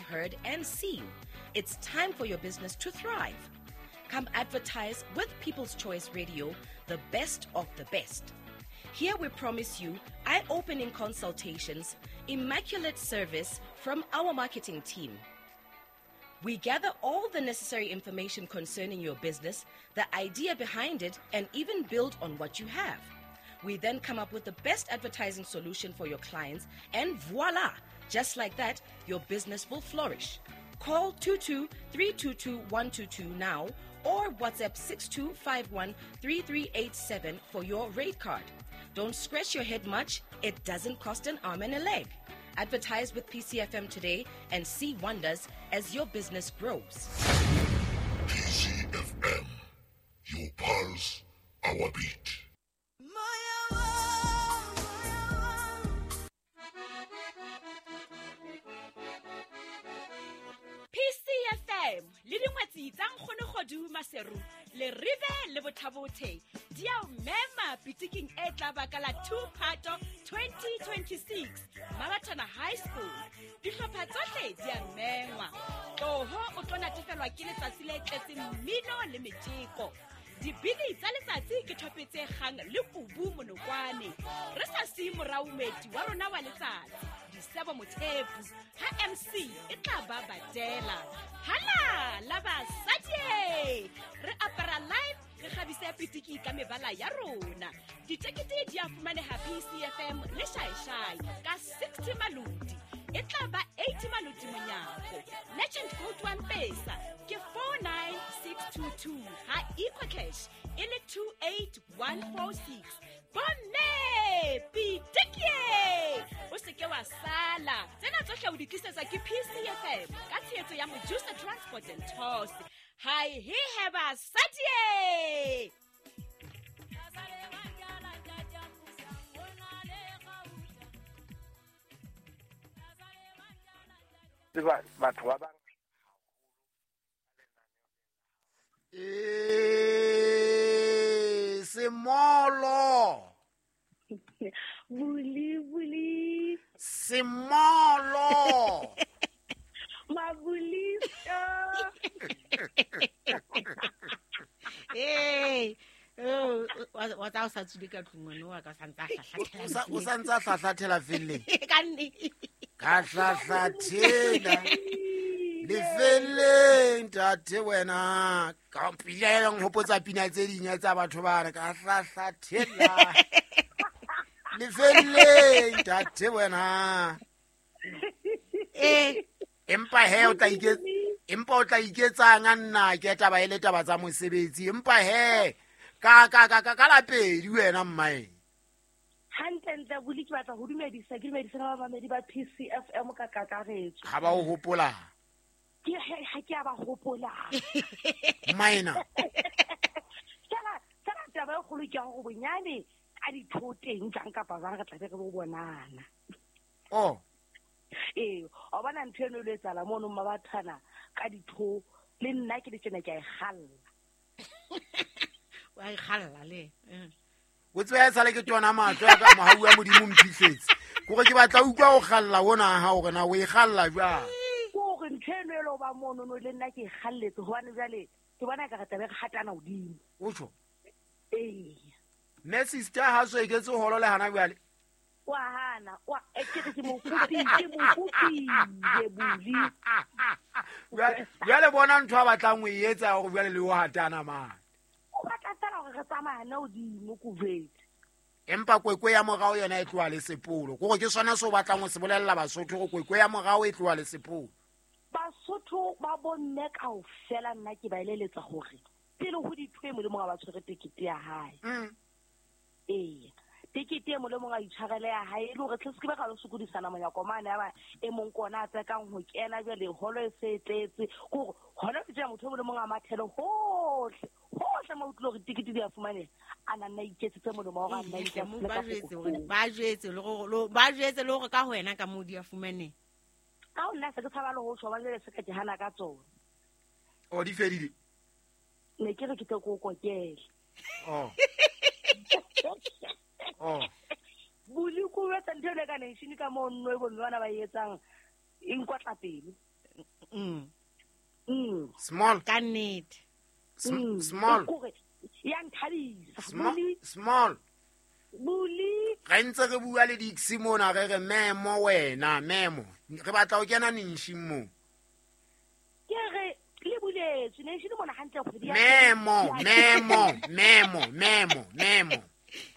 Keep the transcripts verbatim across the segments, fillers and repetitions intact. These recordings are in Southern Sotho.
heard and seen. It's time for your business to thrive. Come advertise with People's Choice Radio, the best of the best. Here we promise you eye-opening consultations, immaculate service from our marketing team. We gather all the necessary information concerning your business, the idea behind it, and even build on what you have. We then come up with the best advertising solution for your clients, and voila! Just like that, your business will flourish. Call two two three two two one two two now or WhatsApp six two five one three three eight seven for your rate card. Don't scratch your head much. It doesn't cost an arm and a leg. Advertise with P C F M today and see wonders as your business grows. P C F M, your pulse, our beat. P C F M le dingwetsi tsa nkgono Kgodu Maseru le ribe le bothabothe di a o mema pitiking e tla baka la two Phato twenty twenty-six Mabatana High School. Dihlopha tsohle di a mengwa. Tloho o tlo natefelwa ke letsatsi le tletseng mmino le metjeko. Dibini tsa letsatsi ke thopetse kgang le kubu monokwane. Re sa siye morao moeti wa rona wa letsatsi, Disebo Mothepu, ha M C e tla ba badela. Hala la basadi! Re apara live, re kgabise pitiki ka mebala ya rona. Ditekete di a fumaneha P C F M le Shaishai ka sixty maloti. E tla ba eighty maloti monyako. Legend code one pesa ke four nine six two two ha EcoCash e le two eight one four six. Bomme pitiki! O se ke wa sala. Tsena tsohle o di tlisetswa ke P C F M ka tshehetso ya Mojusa Transport and Tours. Hi he he basadi! Batho ba bang eh semolo buli buli semolo mabulisa. Eh oh wa tsa o sa tsube ka tlung ngwana wa ka santsa hlahlathela o santsa hlahlathela felleng ka nne ka hlahlathela lefelleng tate wena ka pila e leng hopotsa pina tse ding tsa batho bana ka hlahlathela lefelleng tate wena eh empa he o tla ike empa o tla iketsang nna ke taba ele taba tsa mosebetsi empa he ka ka ka ka la pedi wena mmae hantle ntle buli ke batla ho dumedisa ke dumedisa ba bamedi ba P C F M ka kakaretso ha ba o hopola ke ha ke a ba hopola maina tsela tsela taba e kgolo ke go bonyane ka dithoteng jang kapa jang re tla be re bo bonana oh ee o bona ntho eno le tsala mono Mabathana ka ditho le nna ke le tsena ke a e galla wa e galla le o tswe sale ke tsona matlo ya ka mohau wa Modimo mphihletse gore ke batla utlwa o galla ona ha o rena o e galla jwang gore ntho eno e lo ba mono no le nna ke e galletse hobane jwale ke bona ka re tlabe re hatana hodimo o tjho ee mme sister ha so eketse holo le hana jwale wa hana wa e ke re ke mo kopile ke mo kopile buli jwale bona ntho a batlang o e etsa hore jwale le o hatana mane o batla fela hore re tsamayane hodimo ko jwetse empa kwekwe ya morao yona e tloha le sepolo kore ke sona se o batlang ho se bolella Basotho hore kwekwe ya morao e tloha le sepolo Basotho ba bomme kaofela nna ke ba eleletsa hore pele ho ditho e molemo ga ba tshwere tekete ya hae mm ee tekete e molemo ga itshwarele ya hae e le hore tle se ke ba ka lo sokodisana monyako mane ya ba e mong kona a tsekang ho kena jwale holo e se tletse kore hona ke tjena motho e molemo ga mathele hohle hohle mo utlwe hore tekete di a fumaneha a na nna iketsetse molemo wa hore a nna iketsetse ba jwetse hore ba jwetse le hore ba jwetse le hore ka ho wena ka mo di a fumaneha ka ho nna se ke tshaba le ho tjho ba jwale se ka ke hana ka tsona o di fedile ne ke re ke tlo ko kokele oh oh buli ku etsa ntho le ka nation ka mo nno e bo mme bana ba etsang e nkwatla pelo Mm. Mm. Small. Ka nnete. Sm- Small. Kore ya nthabisa. Small. Buli Small. buli Re ntse re bua le Dixie mona re re memo wena memo. Re batla ho kena nentshing mo. Ke re le buletswe ne shile mona hantle kgwedi ya Memo, memo, memo, memo, memo.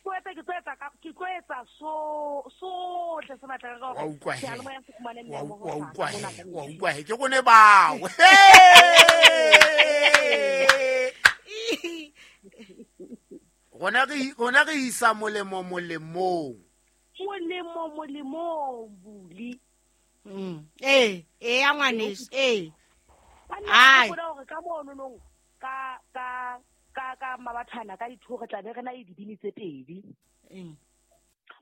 Ko etsa ke tlo etsa ka ke tlo etsa so sohle se batla ka Wa utlwa he. seyalemoya se fumane Wa memo wa ho utlwa mona he, ka wa ntle. utlwa he. Ke rone bao. Rona re rona re isa molemo molemong. Molemo molemong buli. Mm. Eh, eh ya ngwaneso, eh. Banna Ai. ke bona hore ka mono nong ka ka ka ka mabathana ka ditho re tla be re na le dibini tse pedi. Mm.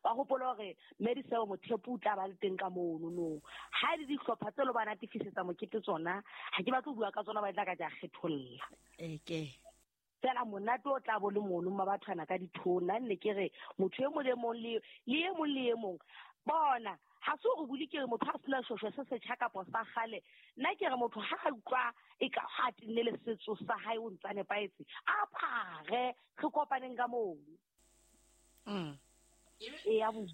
Ba hopola hore Mediseo Mothepu o tla ba le teng ka mono nong. Ha e le dihlopha tse lo ba natefisetsa mokete tsona, ha ke batle ho bua ka tsona ba tla ka ja kgetholla. Eh ke. Fela monate o tla bo le mono mabathana ka ditho nna nne ke re motho e mong le mong le le e mong le e mong. Bona ha se hore buli ke re motho a sena shosho se setjha kapa sa kgale. Nna ke re motho ha a utlwa e ka ha tenne le setso sa hae o ntsa nepahetse, a apare re kopaneng ka moo. Mm. E ya bua.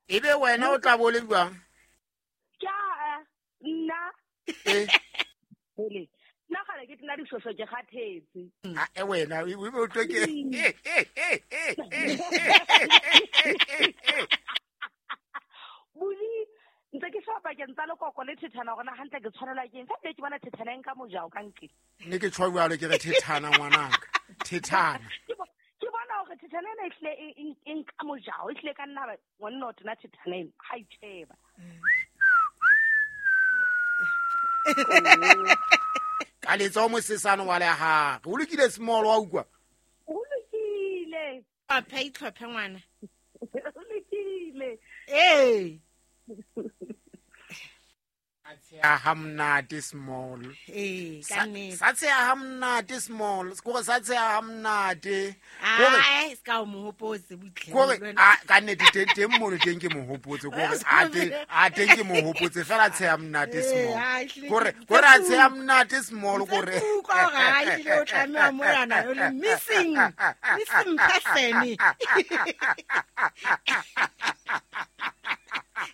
Ebe wena o tla bo le jwang? Ke a nna Eh. hele nna kgale ke tena dishosho ke kgathetse. Ah, e wena o be o tlo ke. Buli ntse ke shapa ke ntsa lekoko le thethana hore na hantle ke tshwanelwa ke eng. Fa ke bona thethana e nka mojao ka ntle. Ne ke tjho jwalo ke re thethana ngwanaka. Thethana. Ke bo- ke bona hore thethana ena e hlile e e- e nka mojao, e hlile ka nna ba ngwanna o tena thethana ena, ha itjheba. Ka letsoho mosesane wa lehare. O lokile small wa utlwa? Ho lokile. Hlophe itlhophe ngwana. Ho lokile. Eh. A tsheha ha monate small. Eh, ka Sa nnete. sa tsheha ha monate small. Kore sa tsheha ha monate. Kore Ai, se ka o mo hopotse butle. kore a ka nnete teng teng mono teng ke mo hopotse kore a teng a teng ke mo hopotse fela tsheha monate small. Kore kore a tsheha monate small kore Utlwa hore ha ehlile o tlameha monana o le missing missing person.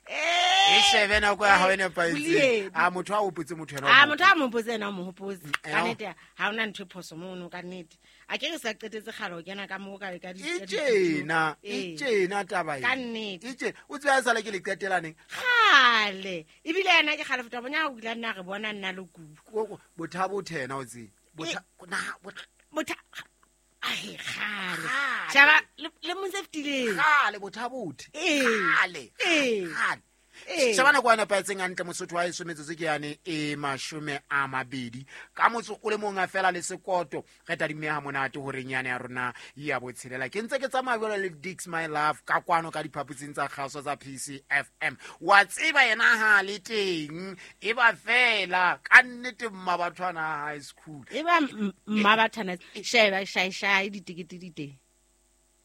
E shebe nako ya hao e nepahetseng. Boliedi. A motho a hopotse motho yena o Ah, mo motho a mo hopotse yena o mo hopotse. Eh, Ka nnete ha hona ntho e phoso mono ka nnete. A ke re sa qetetse kgale ho kena ka moo ka ka di E tjena, e Eh. tjena taba Ka ena. nnete. E tjena. O tseba esale ke le qetelaneng. Kgale. Ebile yena ke kgale feta bonya o ile nna re bona nna le kubu. Ko- Bothabo thena o tsebe. Botha na botha Botha ai kgale. Kgale. Shaba le le mong se fetileng. Kgale bothabothe. Eh. Kgale. Eh. Kgale. Eh. Sheba nako ya nepahetseng hantle Mosotho wa heso metsotso ke yane e mashome a mabedi. Ka motso o le mong a fela le sekoto re tadimme ha monate horeng yane ya rona ya botshelela. Ke ntse ke tsamaya jwalo le Dix My Love ka kwano ka diphaposing tsa kgaso tsa P C F M. Wa tseba yena ha le teng e ba fela ka nnete Mmabathwana High School. E ba m- Mmabathwana sheba shai shai ditekete di teng.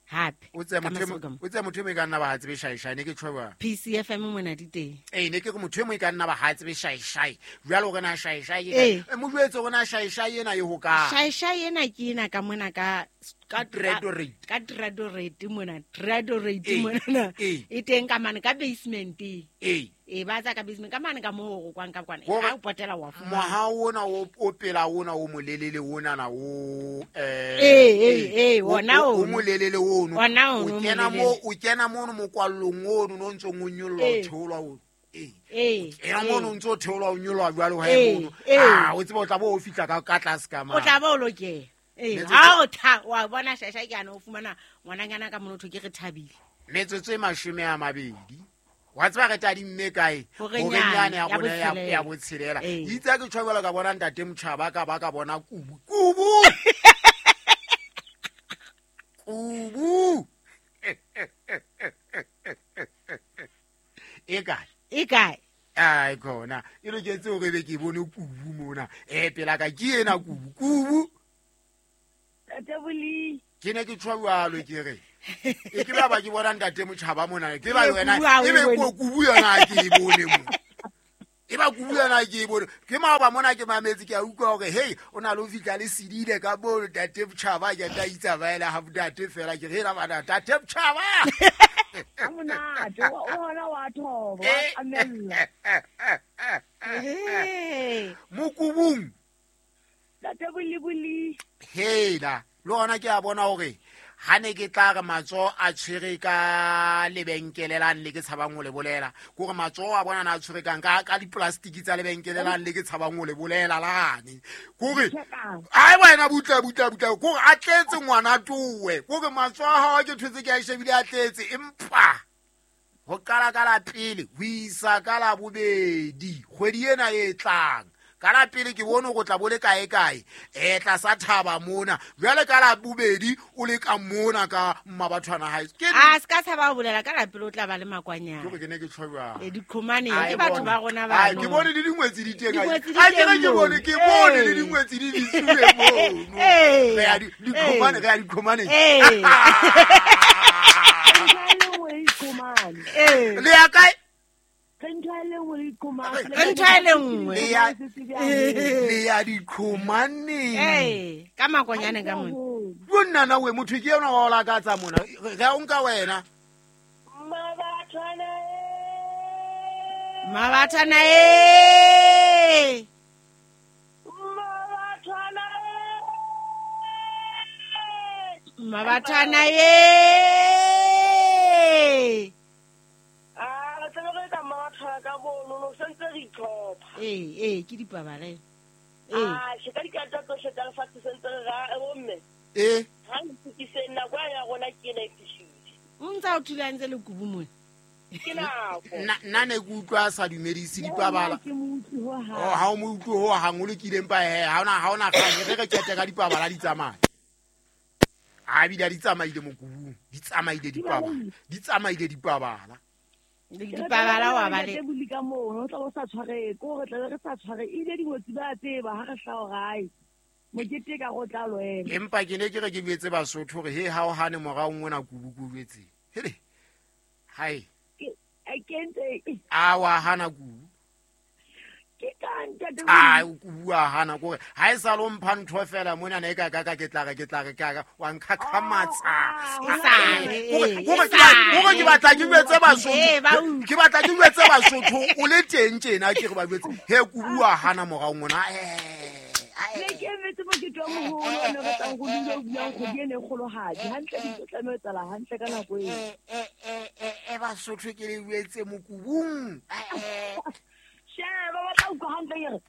Hape. O tseba Ka motho e masoka mo- mo. o tseba motho e mo e ka nna ba ha tsebe shai shai ne ke tjho jwang? P C F M mona di teng. Ee, ne ke re motho e mong e ka nna ba ha tsebe shai shai. Jwale hore na shai shai ke Ee. kae? Eh, mo jwetse hore na shai shai ena e hokae? Shai shai ena ke ena ka mona ka ka Tradorate. ka tradorate mona, tradorate Ee, mona na. ee. E teng ka mane ka basement. Ee. E ba tsa ka basement ka mane ka moo go kwang ka kwana. Hore Ha o potela wa fumana. Moha ona o o pela ona o molelele ona na o eh Ee, ee, ee, o- ona o- o ono. molelele ono. Ona ono O kena molelele. mo o kena mono mokwallong ono no ntsong o nyollwa o Ee. theolwa o. Ee. Ee, Kena ee. mono o ntso theolwa o nyollwa jwalo ha Ee, e mono. ee. Ah, o tseba o tla bo o fihla ka ka tlase ka O mane. tla ba o lokela. Ee, Metsotso- ha o tha wa bona shai shai ke ana o fumana ngwananyana ka motho ke re thabile. Metsotso e mashome a mabedi. Wa tseba re tadimme kae? Horeng Horeng yane ya ya rona ya- botshelela. ya botshelela. Ee. Itse ha ke tjho jwalo ka bona ntate Motjhaba ka ba ka bona kubu. Kubu! Kubu! E kae? E kae? Ai khona. E loketse hore ebe ke bone kubu mona. Eh pela ka ke ena kubu. Kubu! Ntate Boli. Ke ne ke tjho jwalo ke re. E ke ba ba ke bona ntate Motjhaba mona. Ke ba Ee, wena kubu ha o ebe e bone. ko kubu yona ha ke e bone mo. E ba kubu yana ke bone ke maoba mona ke mametse ke a utlwa hore hey o na le ho fihla le sedile ka bo Ntate Botjhaba ke tla itsamaela ha ntate fela ke re bana Ntate Botjhaba a monate o hona wa thoba wa amella mokubung Ntate Boliboli hela le hona ke a bona hore ha ne ke tla re matsoho a tshwere ka lebenkele lane le ke tshabang ho le bolela kore matsoho a bona na a tshwere kang ka ka diplastiki tsa lebenkele lane le ke tshabang ho le bolela lane kore ai wena butla butla butla kore a tletse ngwana towe kore matsoho a hao ke thotse ke a shebile a tletse empa ho qala ka la pele ho isa ka la bobedi kgwedi ena e tlang ka la pele ke bone go tla bole kae kae e tla sa thaba mona jwale ka la bobedi o le ka mona ka Mmabathwana hae ke a ska tshaba ho bolela ka la pele o tla ba le makwanyana ke ke ne ke tshweba e diqhomane ke batho ba rona ba ke bone le dingwetsi di teng a ke ke bone ke bone le dingwetsi di disuwe mono re ya diqhomane re ya diqhomane eh le ya kae re ntho e le nngwe re ntho e le nngwe le ya diqhomaneng ee ka makwanyane ka mona bonnana we motho ke yona wa o lakatsa mona re a o nka wena Mmabathwana Mmabathwana e Mmabathwana Mmabathwana e ka bono no sentse re itlhopha ee ee ke dipabala ee ah se ka dikata tsohle tsa lefatshe sentse re ra bomme ee ha ntukise nako ya rona ke ena e fihlile o ntsa o thulantse le kubu mona ke nako nna ne ke utlwa sa dumedise dipabala oh ha o mo utlwe ho hang o lokile mpa he ha ona ha ona kgang re re qete ka dipabala di tsamaya a bile di tsamaile mokubung di tsamaile dipabala di tsamaile dipabala dipabala wa ba le buli ka mono o tla o sa tshware ko re tla re sa tshware ile dingwetsi ba tseba ha re hlao gae mokete ka go tla lwena empa ke ne ke re ke betse Basotho hore he ha o hane morao ngwana kubu ku betse hele hai ke kentse a wa hana kubu ke ka ntate a kubu a hana kore ha e sa lo mpha ntho fela mona ne ka ka ka ke tla re ke tla re ka wa nkhakhamatsa kore ke batla ke betse Basotho ke batla ke betse Basotho o le teng tjena ke re ba betse he kubu a hana morao ngwana eh ne ke emetse mokete wa moholo o ne re tlang go dula o buang kgwedi ene e kgolohadi hantle dintho tlameha ho etsahala hantle ka nako eo e Basotho ke le betse mokubung sheba ba tla utlwa hantle ke re